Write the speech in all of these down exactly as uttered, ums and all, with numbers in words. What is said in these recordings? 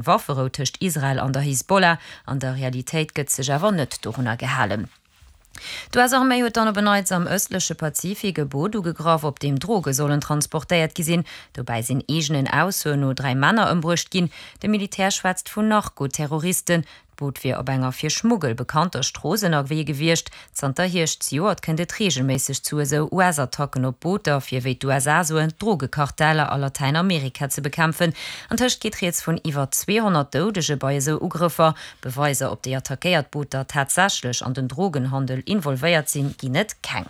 Wafferou tëscht Israel an der Hisbollah. An der Realitéit gëtt sech awer net dorunner gehalen. D'US-Arméi huet dann op en Neits am ëstleche Pazifik e Boot ugegraff, op deem Droge sollen transportéiert gi sinn. Dobäi sinn eegenen Aussoen no dräi Männer ëmbruecht ginn. De Militär schwätzt vun Narko-Terroristen. D'Boot wier op enger fir Schmuggel bekannter Strooss ënnerwee gewiescht. Zanter Hierscht zejoert kënnt et reegelméisseg zu esou US-Attacken op Booter, fir wéi d'USA soen, d'Drogekarteller a Latäinamerika ze bekämpfen. Antëscht geet rieds vun iwwer zweehonnert Doudege bei esou Ugrëffer. Beweiser, ob déi attackéiert Booter tatsächlech an den Drogenhandel involvéiert sinn, ginn et keng.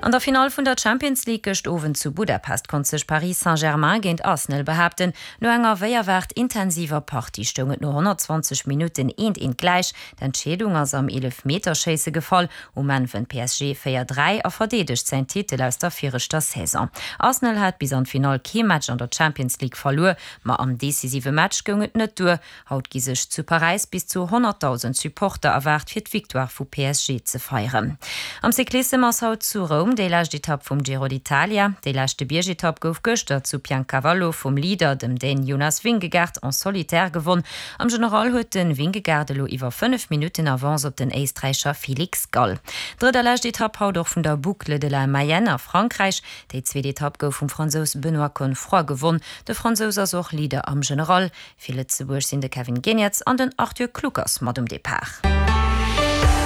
An der Finall vun der Champions League gëscht Owend zu Budapest konnt sech Paris Saint-Germain géint Arsenal behaapten. No enger wéi erwaart intensiver Partie stoung et no honnertzwanzeg Minutten eent eent gläich. D'Entscheedung ass am Eelefmeterschéisse gefall. Um Enn wënnt P S G véier dräi a verdeedegt säin Titel aus der viregter Saison. Arsenal hat bis an d'Finall kee Match an der Champions League verluer, ma am decisive Match goung et net duer. Haut gi sech zu Paräis bis zu honnertdausend Supporter erwaart fir d'Victoire vu P S G ze feieren. Am Cyclissem ass haut zu Roum déi lescht Etapp vum Giro d'Italia. Déi leschte Biergetapp gouf gëschter zu Piancavallo vum Leader, dem Dän Jonas Vingegaard, en solitaire gewonn. Am General huet de Vingegaard elo iwwer fënnef Minutten Avance op den Éisträicher Felix Gall. Drëtt a lescht Etapp haut och vun der Boucle de la Mayenne a Frankräich. Déi zweet Etapp gouf vum Fransous Benoît Cosnefroy gewonn. De Fransous ass och Leader am General. Fir Lëtzebuerg sinn de Kevin Geniets an den Arthur Kluckers mat um Depart.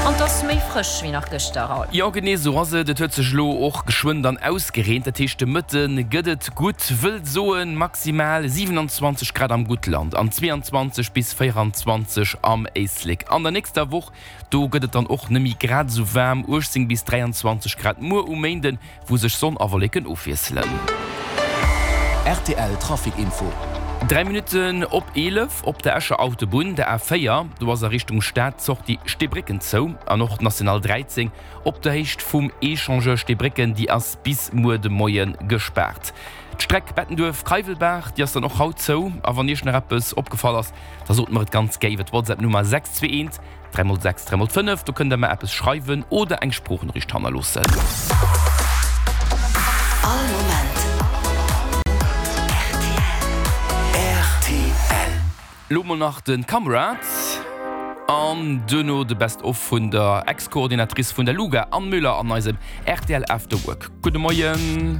An 't ass méi frësch wéi nach gëschter, Raoul. Jo, genee esou ass et. Et huet sech elo och geschwënn dann ausgereent, dat heescht de Mëtte gëtt et gutt, wëllt soen maximal siwenanzwanzeg Grad am Guttland an zweeanzwanzeg bis véieranzwanzeg am Éislek. An der nächster Woch, do gëtt et dann och nëmme grad esou waarm, uechtzéng bis dräianzwanzeg Grad muer um Méinden, wou sech Sonn a Wolleken ofwiesselen. R T L Trafic Info. Dräi Minutten op eelef op der Escher Autobunn, der A véier, do ass a Richtung Stad d'Sortie Steebrécken zou an och d'National dräizéng op der Héicht vum Echangeur Steebrécken, déi ass bis muer de Moie gespaart. D'Streck Bettenduerf-Keiwelbaach, déi ass dann och haut zou. A wann Iech nach eppes opgefall ass, da sot mer et ganz gär iwwer d'WhatsApp-Nummer sechs zwee eent dräi mol sechs dräi mol fënnef. Do kënnt der mer eppes schreiwen oder eng Sproochnoriicht hannerloossen. All Moment R T L. Lo mol nach de Kamrad an duerno de Best of vun der Ex-Coordinatrice vun der Luga, Anne Müller, an eisem R T L After Work. Gudde Moien.